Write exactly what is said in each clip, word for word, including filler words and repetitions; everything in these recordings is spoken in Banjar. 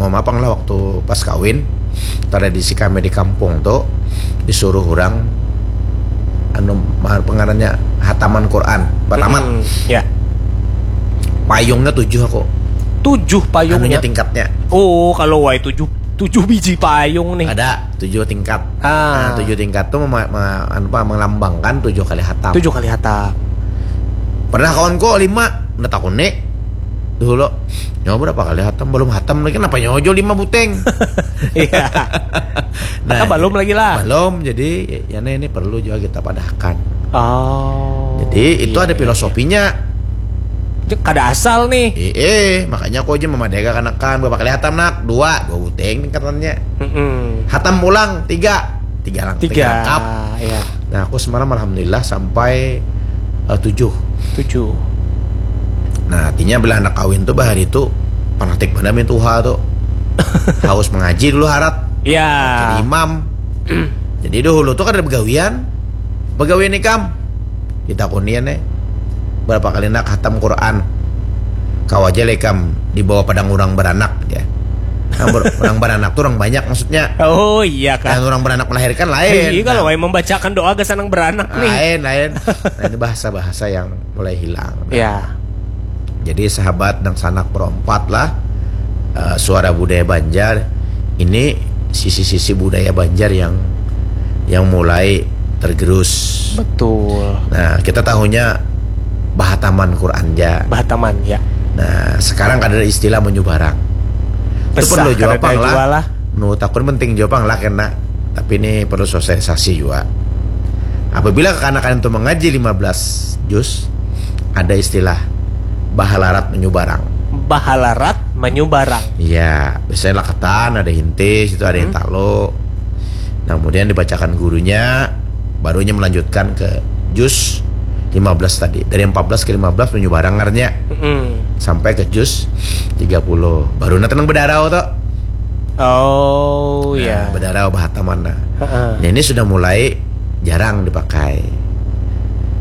Mama pang lah waktu pas kawin, tradisi kami di kampung tu disuruh orang anu, ma-, pengarannya hataman Quran pertama. Hmm, ya. Payungnya tujuh aku. Tujuh Anunya payungnya. Tingkatnya. Oh, kalau wai tujuh tujuh biji payung nih. Ada tujuh tingkat. Ah. Nah, tujuh tingkat tuh mema- me- anu apa, melambangkan tujuh kali hatam. Tujuh kali hatam. Pernah kawan kok lima, udah takuni dulu. Nyawa berapa kali hatam? Belum hatam lagi, kenapa nyojo lima buteng? Iya. Nah, Atau belum lagi lah. Belum, jadi ya ini, ini perlu juga kita padahkan. Oh. Jadi itu iya, ada iya. Filosofinya. Kada asal nih. Eh, eh, makanya aku aja memadega kanakan berapa kali hatam nak? Dua, dua buteng tingkatannya. Mm-mm. Hatam pulang tiga, tiga lang, Tiga. Lengkap. Ya. Nah, aku semalam alhamdulillah sampai eh, tujuh. Tujuh. Nah, artinya bila anak kawin tuh bahari itu fanatik mana main tuha tuh. Haus mengaji dulu harat. Ya. Jadi imam. Jadi dahulu tuh kan ada begawian. Begawian ikam. Kita kunian nih. Berapa kali nak hatam Quran? Kau aja lah ikam dibawa padang orang beranak ya. Nah, ber- orang beranak tuh orang banyak maksudnya. Oh iya kan. Dan orang beranak melahirkan lain. Iya, kalau Nah, wai membacakan doa ke sanang beranak nih. lain lain. Nah, ini bahasa-bahasa yang mulai hilang. Ya. Jadi sahabat dan sanak perompat lah, eh, suara budaya Banjar ini, sisi-sisi budaya Banjar yang yang mulai tergerus. Betul. Nah, kita tahunya bahataman Quran ja. Bahataman ya. Nah, sekarang kada ada istilah menyubarang. Itu Besah perlu juga kada pang ada lah. Jua lah. Nu takun penting juga pang lah kena. Tapi ini perlu sosialisasi juga. Apabila kekanakan itu mengaji lima belas juz, ada istilah bahalarat menyubarang. Bahalarat menyubarang. Iya, biasanya laketan, ada hintis, itu ada yang Hmm. talo. Nah, kemudian dibacakan gurunya, barunya melanjutkan ke juz lima belas tadi. Dari empat belas ke lima belas menyubarang artinya. Mm-mm. Sampai ke juz tiga puluh. Baru na tenang bedarau tuh. Oh Nah, ya. Bedarau bahataman nah. Heeh. Nah, ini sudah mulai jarang dipakai.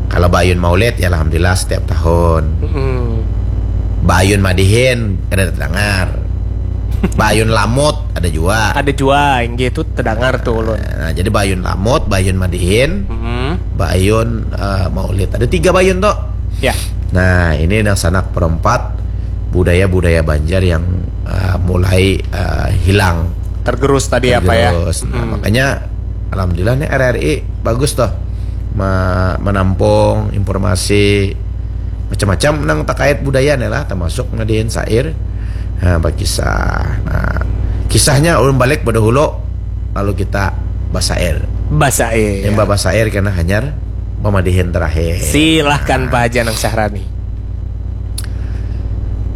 Kalau bayun maulid ya alhamdulillah setiap tahun. Mm-mm. Bayun madihin kada terdengar. Bayun lamut ada juga. Ada jua inggih itu terdengar tuh ulun. Nah, jadi bayun lamut, bayun madihin, Mm-mm. bayun eh, maulid. Ada tiga bayun tuh. Ya. Nah, ini yang sanak perempat budaya-budaya Banjar yang eh, mulai eh, hilang. Tergerus tadi apa ya? Tergerus. Nah, Mm-mm. Makanya alhamdulillah nih R R I bagus tuh me- menampung informasi macam-macam nang terkait budaya nih lah, termasuk ngadihin syair, nah, berkisah. Nah, kisahnya ulun balik pada hulu, lalu kita basair. Basair. Yang basair kena hanyar pemadihin terakhir. Silahkan Pak Haji Anang Syahrani.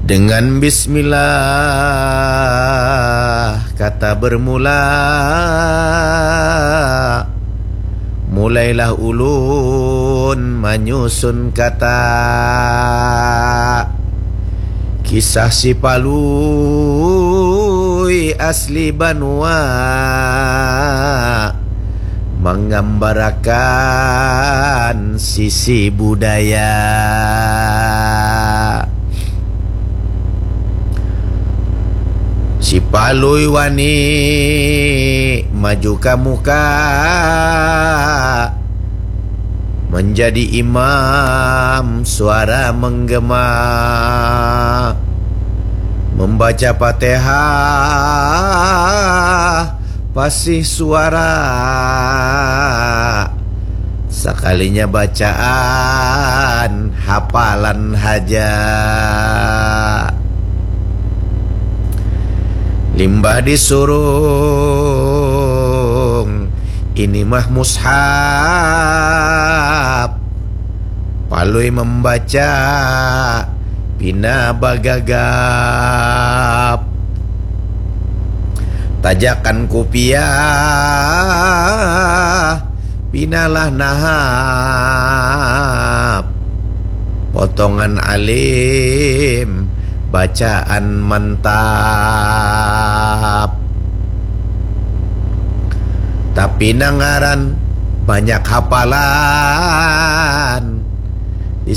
Dengan bismillah kata bermula, mulailah ulun manyusun kata. Kisah si Palui asli banua, manggambarakan sisi budaya. Si Palui wani maju ka muka, menjadi imam suara menggema, membaca Fatihah pasih suara, sekalinya bacaan hafalan haja. Limbah disurung ini mah mushaf, Palui membaca pina bagagap. Tajakan kupiah pinalah nahap. Potongan alim bacaan mantap. Tapi nangaran banyak hafalan,